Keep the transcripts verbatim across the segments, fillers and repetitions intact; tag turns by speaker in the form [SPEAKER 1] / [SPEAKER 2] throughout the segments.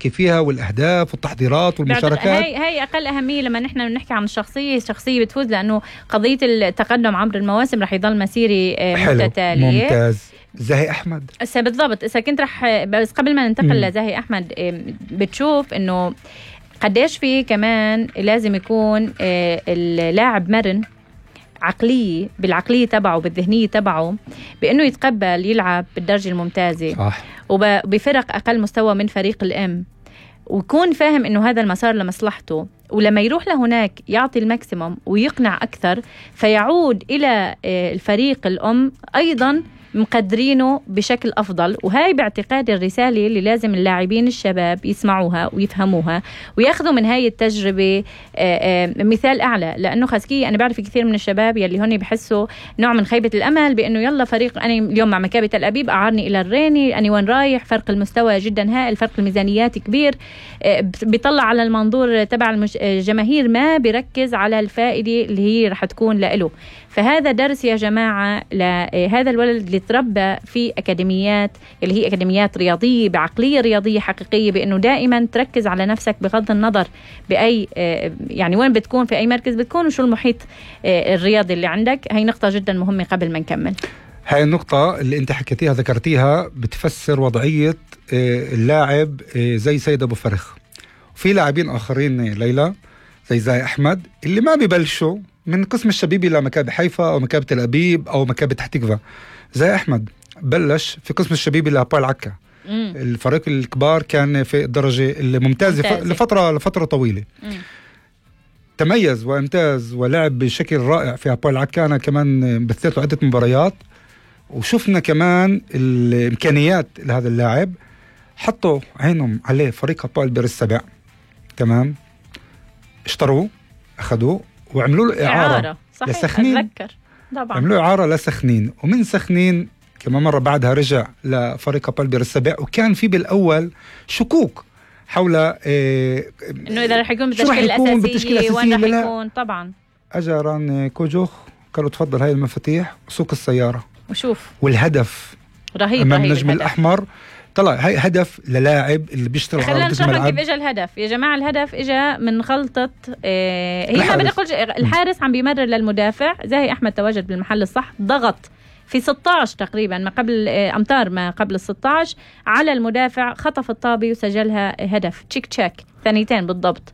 [SPEAKER 1] نحكي فيها والأهداف والتحضيرات والمشاركات.
[SPEAKER 2] هاي هاي أقل أهمية لما نحن نحكي عن الشخصية. الشخصية بتفوز لأنه قضية التقدم عبر المواسم رح يضل مسيري متتالية.
[SPEAKER 1] ممتاز. زاهي أحمد
[SPEAKER 2] إسا بالضبط. إسا كنت رح بس قبل ما ننتقل لزاهي أحمد، بتشوف إنه قديش في كمان لازم يكون اللاعب مرن عقلية بالعقلية تبعه بالذهنية تبعه، بأنه يتقبل يلعب بالدرجة الممتازة
[SPEAKER 1] صح.
[SPEAKER 2] وبفرق أقل مستوى من فريق الأم، ويكون فاهم أنه هذا المسار لمصلحته، ولما يروح لهناك يعطي الماكسيموم ويقنع أكثر، فيعود إلى الفريق الأم أيضا مقدرينه بشكل أفضل. وهاي باعتقاد الرسالة اللي لازم اللاعبين الشباب يسمعوها ويفهموها وياخذوا من هاي التجربة مثال أعلى. لأنه خاسكي أنا بعرف كثير من الشباب يلي هون بحسوا نوع من خيبة الأمل بأنه يلا فريق أنا اليوم مع مكابي تل أبيب أعارني إلى الريني، أنا وين رايح، فرق المستوى جدا هائل، فرق الميزانيات كبير، بيطلع على المنظور تبع الجماهير ما بيركز على الفائدة اللي هي رح تكون له. فهذا درس يا جماعة لهذا الولد اللي تربى في أكاديميات اللي هي أكاديميات رياضية بعقلية رياضية حقيقية، بأنه دائما تركز على نفسك بغض النظر بأي يعني وين بتكون في أي مركز بتكون وشو المحيط الرياضي اللي عندك. هاي نقطة جدا مهمة قبل ما نكمل.
[SPEAKER 1] هاي النقطة اللي انت حكيتيها ذكرتيها بتفسر وضعية اللاعب زي سيد أبو فرخ. وفي لاعبين آخرين ليلى زي زاهي أحمد اللي ما بيبلشوا من قسم الشبيبي لمكابي حيفا أو مكابي تل أبيب أو مكابي تحتيكفا. زاهي أحمد بلش في قسم الشبيبي لهابويل عكا. مم. الفريق الكبار كان في الدرجة الممتازة ممتازة. لفترة لفترة طويلة. مم. تميز وامتاز ولعب بشكل رائع في هابويل عكا. أنا كمان بثيت له عدة مباريات وشفنا كمان الإمكانيات لهذا اللاعب. حطوا عينهم عليه فريق هابويل بير السبع، تمام، اشتروه أخذوه وعملوا له إعارة, إعارة. لسخنين.
[SPEAKER 2] أتذكر طبعا
[SPEAKER 1] عملوا إعارة لسخنين، ومن سخنين كما مرة بعدها رجع لفريق هابويل بير السبع. وكان في بالأول شكوك حول إيه
[SPEAKER 2] إنه إذا رح يكون بالتشكيلة الأساسية وين رح يكون. طبعا
[SPEAKER 1] أجران كوجوخ قالوا تفضل هاي المفاتيح وسوق السيارة
[SPEAKER 2] وشوف.
[SPEAKER 1] والهدف
[SPEAKER 2] رهيب
[SPEAKER 1] أمام
[SPEAKER 2] رهيب
[SPEAKER 1] النجم الأحمر طلع هاي هدف للاعب اللي بيشتغل على
[SPEAKER 2] خلينا نشرح كيف اجى الهدف يا جماعه. الهدف اجى من غلطه اه هي ما بدي اقول الحارس عم بيمرر للمدافع. زاهي احمد تواجد بالمحل الصح، ضغط في ستة عشر تقريبا ما قبل اه امتار ما قبل ال ستة عشر على المدافع، خطف الطابي وسجلها هدف تشيك تشيك ثانيتين بالضبط.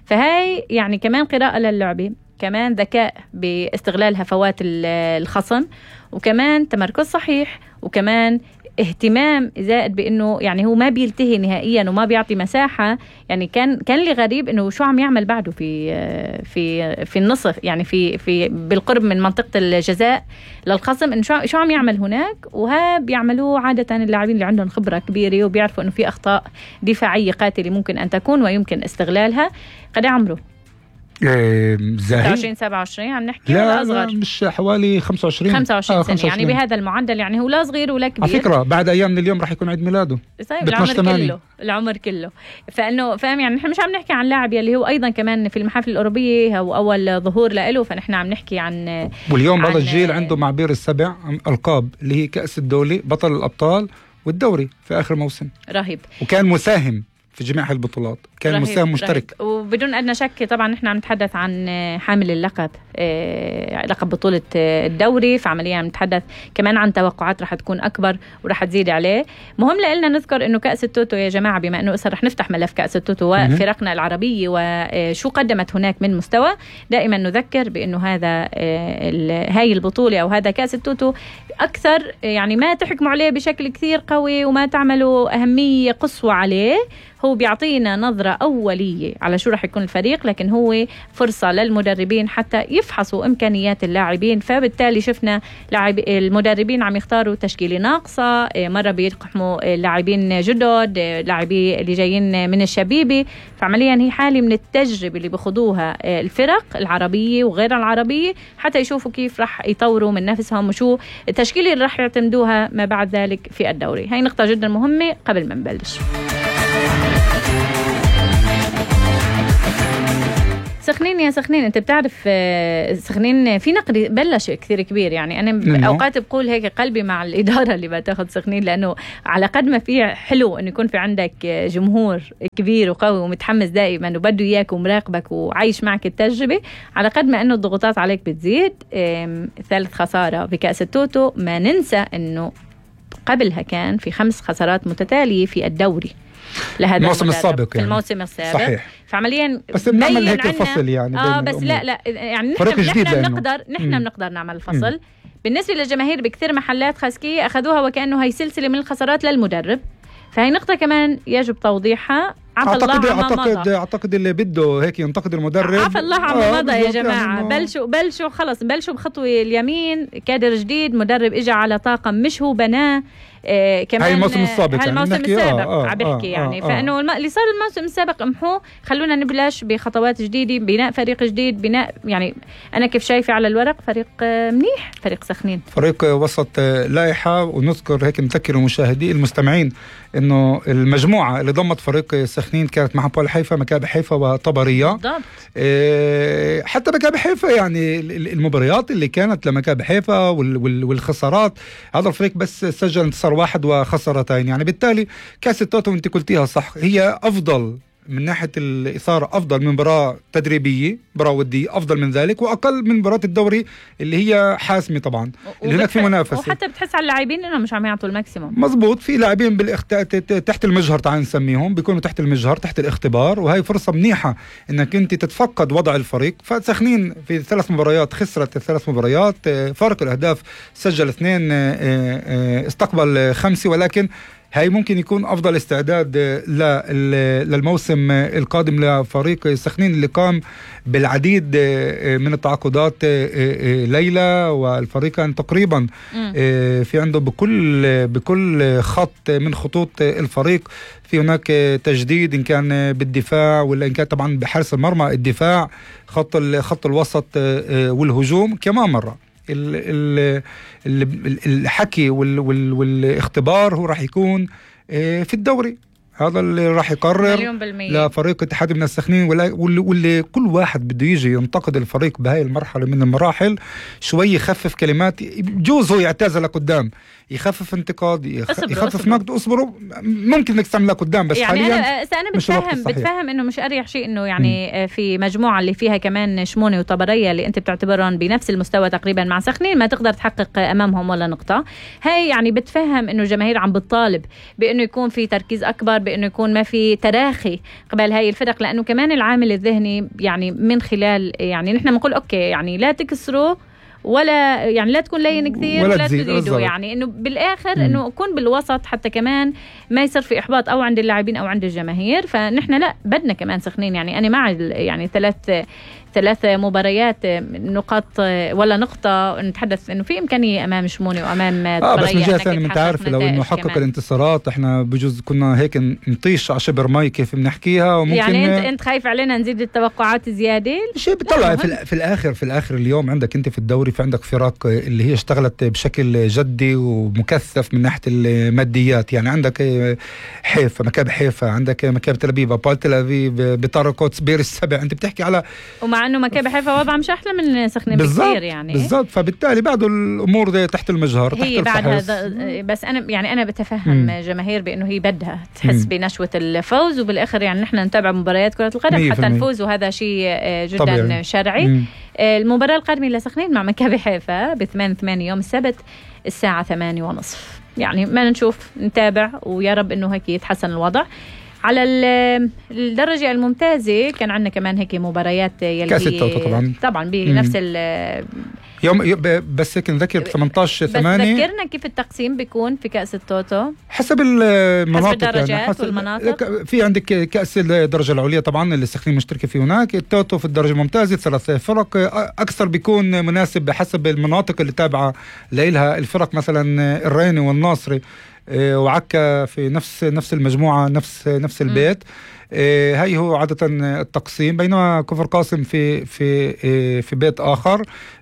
[SPEAKER 2] فهاي يعني كمان قراءه للعبه، كمان ذكاء باستغلال هفوات الخصم، وكمان تمركز صحيح، وكمان اهتمام زائد بانه يعني هو ما بيلتهي نهائيا وما بيعطي مساحه. يعني كان كان لي غريب انه شو عم يعمل بعده في في في النصف، يعني في في بالقرب من منطقه الجزاء للخصم، انه شو شو عم يعمل هناك. وها بيعملوا عاده اللاعبين اللي عندهم خبره كبيره وبيعرفوا انه في اخطاء دفاعيه قاتله ممكن ان تكون ويمكن استغلالها. قد عمره
[SPEAKER 1] زاهي
[SPEAKER 2] ستة وعشرين سبعة وعشرين عم نحكي
[SPEAKER 1] لا
[SPEAKER 2] ولا أصغر؟
[SPEAKER 1] لا مش حوالي خمسة وعشرين
[SPEAKER 2] خمسة وعشرين
[SPEAKER 1] آه
[SPEAKER 2] سنة. يعني بهذا المعدل يعني هو لا صغير ولا كبير.
[SPEAKER 1] على فكرة بعد أيام من اليوم راح يكون عيد ميلاده.
[SPEAKER 2] طيب العمر كله العمر كله. فإنه فاهم يعني نحن مش عم نحكي عن لاعب يلي هو أيضا كمان في المحافل الأوروبية هو أول ظهور له، فنحن عم نحكي عن
[SPEAKER 1] واليوم هذا الجيل عنده مع بير السبع ألقاب اللي هي كأس الدولة، بطل الأبطال، والدوري في آخر موسم.
[SPEAKER 2] رهيب.
[SPEAKER 1] وكان مساهم في جميع البطولات، كان رهيب مساهم مشترك
[SPEAKER 2] رهيب. وبدون أدنى شك طبعا نحن عم نتحدث عن حامل اللقب آه، لقب بطولة الدوري، فعمليا عم نتحدث كمان عن توقعات رح تكون أكبر ورح تزيد عليه. مهم لنا نذكر إنه كأس التوتو يا جماعة، بما إنه رح نفتح ملف كأس التوتو وفرقنا العربية وشو قدمت هناك من مستوى، دائما نذكر بإنه هذا آه هاي البطولة أو هذا كأس التوتو أكثر يعني ما تحكموا عليه بشكل كثير قوي وما تعملوا أهمية قصوى عليه. هو بيعطينا نظرة أولية على شو رح يكون الفريق، لكن هو فرصة للمدربين حتى يفحصوا إمكانيات اللاعبين. فبالتالي شفنا لاعب المدربين عم يختاروا تشكيلة ناقصة، مرة بيقحموا لاعبين جدد، لاعبين اللي جايين من الشبيبي. فعمليا هي حالة من التجربة اللي بيخوضوها الفرق العربية وغير العربية حتى يشوفوا كيف رح يطوروا من نفسهم وشو التشكيلة اللي رح يعتمدوها ما بعد ذلك في الدوري. هاي نقطة جدا مهمة قبل ما نبلش. سخنين يا سخنين، انت بتعرف سخنين في نقد بلش كثير كبير، يعني انا
[SPEAKER 1] منه.
[SPEAKER 2] اوقات بقول هيك قلبي مع الاداره اللي بتاخذ سخنين، لانه على قد ما في حلو انه يكون في عندك جمهور كبير وقوي ومتحمس دائما وبده اياك ومراقبك وعايش معك التجربه، على قد ما انه الضغوطات عليك بتزيد. ثالث خساره بكاس التوتو، ما ننسى انه قبلها كان في خمس خسارات متتاليه في الدوري لهذا
[SPEAKER 1] الموسم السابق،
[SPEAKER 2] يعني في الموسم السابق.
[SPEAKER 1] صحيح.
[SPEAKER 2] فعمليا
[SPEAKER 1] بس بنعمل هيك الفصل يعني
[SPEAKER 2] اه بس لا لا يعني نحن نحن بنقدر نحن بنقدر نعمل الفصل. مم. بالنسبه للجماهير بكثير محلات خاسكيه اخذوها وكانه هي سلسله من الخسارات للمدرب، فهي نقطه كمان يجب توضيحها.
[SPEAKER 1] أعتقد أعتقد أعتقد اللي بده هيك ينتقد المدرب.
[SPEAKER 2] عفى الله عما مضى يا جماعة. يعني بلشوا بلشوا خلص بلشوا بخطوة اليمين، كادر جديد، مدرب إجا على طاقم مش هو بناه. آه كمان
[SPEAKER 1] هاي الموسم السابق،
[SPEAKER 2] هاي الموسم
[SPEAKER 1] يعني
[SPEAKER 2] السابق
[SPEAKER 1] آه
[SPEAKER 2] عم بحكي آه يعني آه فإنه آه اللي صار الموسم السابق امحوه، خلونا نبلش بخطوات جديدة، بناء فريق جديد، بناء يعني أنا كيف شايفة على الورق فريق آه منيح، فريق سخنين،
[SPEAKER 1] فريق وسط آه لائحة. ونذكر هيك نذكر المشاهدين المستمعين إنه المجموعة اللي ضمت فريق سخنين كانت مع بول حيفا، مكابي حيفا وطبرية.
[SPEAKER 2] بالضبط.
[SPEAKER 1] آه حتى مكابي حيفا يعني المباريات اللي كانت لمكابي حيفا والخسارات، هذا الفريق بس سجل انتصار واحد وخسارتين، يعني بالتالي كاس التوتو انت قلتيها صح، هي افضل من ناحيه الاثاره، افضل من مباراه تدريبيه، مباراه وديه افضل من ذلك، واقل من مباراه الدوري اللي هي حاسمه طبعا، اللي هناك في منافسه.
[SPEAKER 2] وحتى بتحس على اللاعبين انهم مش عم يعطوا الماكسيموم.
[SPEAKER 1] مزبوط، في لاعبين بالاخت... تحت المجهر، تعال نسميهم، بيكونوا تحت المجهر، تحت الاختبار، وهي فرصه منيحه انك انت تتفقد وضع الفريق. فسخنين في ثلاث مباريات خسرت الثلاث مباريات، فارق الاهداف سجل اثنين، استقبل خمسه، ولكن هاي ممكن يكون أفضل استعداد للموسم القادم لفريق سخنين اللي قام بالعديد من التعاقدات ليلى، والفريقان تقريبا في عنده بكل بكل خط من خطوط الفريق في هناك تجديد، إن كان بالدفاع ولا إن كان طبعا بحارس المرمى، الدفاع، خط خط الوسط والهجوم كمان مرة. الحكي والاختبار هو راح يكون في الدوري، هذا اللي راح يقرر لفريق اتحاد من السخنين، واللي كل واحد بده يجي ينتقد الفريق بهاي المرحلة من المراحل شوي يخفف كلمات، بجوز هو يعتزل لقدام، يخفف انتقاد، يخفف نقد، اصبروا ممكن انك تعملها قدام، بس
[SPEAKER 2] يعني
[SPEAKER 1] حاليا
[SPEAKER 2] انا انا بتفهم بتفهم انه مش اريح شيء انه يعني م. في مجموعه اللي فيها كمان شمونه وطبريه اللي انت بتعتبرهم بنفس المستوى تقريبا مع سخنين ما تقدر تحقق امامهم ولا نقطه. هاي يعني بتفهم انه الجماهير عم بتطالب بانه يكون في تركيز اكبر، بانه يكون ما في تراخي قبل هاي الفرق، لانه كمان العامل الذهني يعني من خلال يعني نحن بنقول اوكي يعني لا تكسروا ولا يعني لا تكون لين كثير ولا, ولا تزيدوا، يعني انه بالاخر مم. انه اكون بالوسط حتى كمان ما يصير في احباط او عند اللاعبين او عند الجماهير. فنحن لا بدنا كمان سخنين، يعني انا مع يعني ثلاث ثلاث مباريات نقاط ولا نقطة، نتحدث انه في امكانية امام شموني وامام
[SPEAKER 1] اه بس من جهة ثانية انت عارف لو انه حقق الانتصارات احنا بجوز كنا هيك نطيش على شبر مي كيف بنحكيها، وممكن
[SPEAKER 2] يعني انت انت خايف علينا نزيد التوقعات زيادة
[SPEAKER 1] شيء بيطلع في, في الاخر في الاخر اليوم عندك انت في الدوري في عندك فرق اللي هي اشتغلت بشكل جدي ومكثف من ناحية الماديات، يعني عندك حيفا، مكابي حيفا، عندك مكابي تل أبيب، بول تل أبيب، بطارقوت، بير السبع، انت بتحكي على
[SPEAKER 2] مع انه مكابي حيفا وضع مش احلى من سخنين بكثير يعني
[SPEAKER 1] بالضبط. فبالتالي بعده الامور دي تحت المجهر،
[SPEAKER 2] هي تحت بعدها، بس انا يعني انا بتفهم مم. جماهير بانه هي بدها تحس مم. بنشوه الفوز، وبالاخر يعني نحن نتابع مباريات كره القدم حتى نفوز، وهذا شيء جدا طبيعي. شرعي. مم. المباراه القادمه لسخنين مع مكابي حيفا ب ثمانية ثمانية يوم السبت الساعه ثمانية ونصف، يعني ما نشوف نتابع ويا رب انه هيك يتحسن الوضع. على الدرجة الممتازة كان عندنا كمان هيك مباريات يلي
[SPEAKER 1] كأس التوتو طبعا
[SPEAKER 2] طبعا بنفس ال
[SPEAKER 1] يوم بس هيك نذكر ثمانية عشر ثمانية.
[SPEAKER 2] بس ذكرنا كيف التقسيم بيكون في كأس التوتو
[SPEAKER 1] حسب المناطق،
[SPEAKER 2] حسب الدرجات يعني حسب والمناطق.
[SPEAKER 1] في عندك كأس الدرجة العليا طبعا اللي السخنين مشتركة فيه هناك، التوتو في الدرجة الممتازة ثلاث فرق، أكثر بيكون مناسب بحسب المناطق اللي تابعة لإلها الفرق، مثلا الريني والناصري وعكا في نفس نفس المجموعة، نفس نفس البيت. آه هاي هو عادة التقسيم، بينما كفر قاسم في في آه في بيت آخر.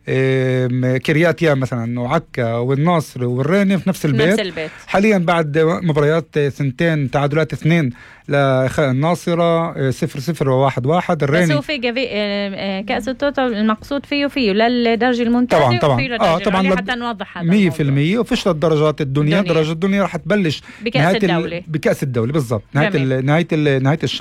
[SPEAKER 1] آم، كرياتيا مثلا وعكا والناصر والريني في نفس البيت,
[SPEAKER 2] نفس البيت.
[SPEAKER 1] حاليا بعد مباريات سنتين تعادلات اثنين للناصرة صفر صفر وواحد واحد.
[SPEAKER 2] بس
[SPEAKER 1] الريني
[SPEAKER 2] هو في جفي... آه، كأس التوتو المقصود فيه فيه للدرجة الممتازة
[SPEAKER 1] طبعا طبعا
[SPEAKER 2] وفيه
[SPEAKER 1] اه
[SPEAKER 2] للدرجة
[SPEAKER 1] طبعا
[SPEAKER 2] العليا،
[SPEAKER 1] لد-
[SPEAKER 2] حتى نوضح هذا
[SPEAKER 1] مية في المية. وفيش للدرجات الدنيا,
[SPEAKER 2] الدنيا.
[SPEAKER 1] درجة الدنيا رح تبلش
[SPEAKER 2] بكأس
[SPEAKER 1] نهاية ال-
[SPEAKER 2] الدولة.
[SPEAKER 1] بكأس الدولة بالضبط نهاية
[SPEAKER 2] جميل.
[SPEAKER 1] ال- نهاية ال- نهاية الشهر.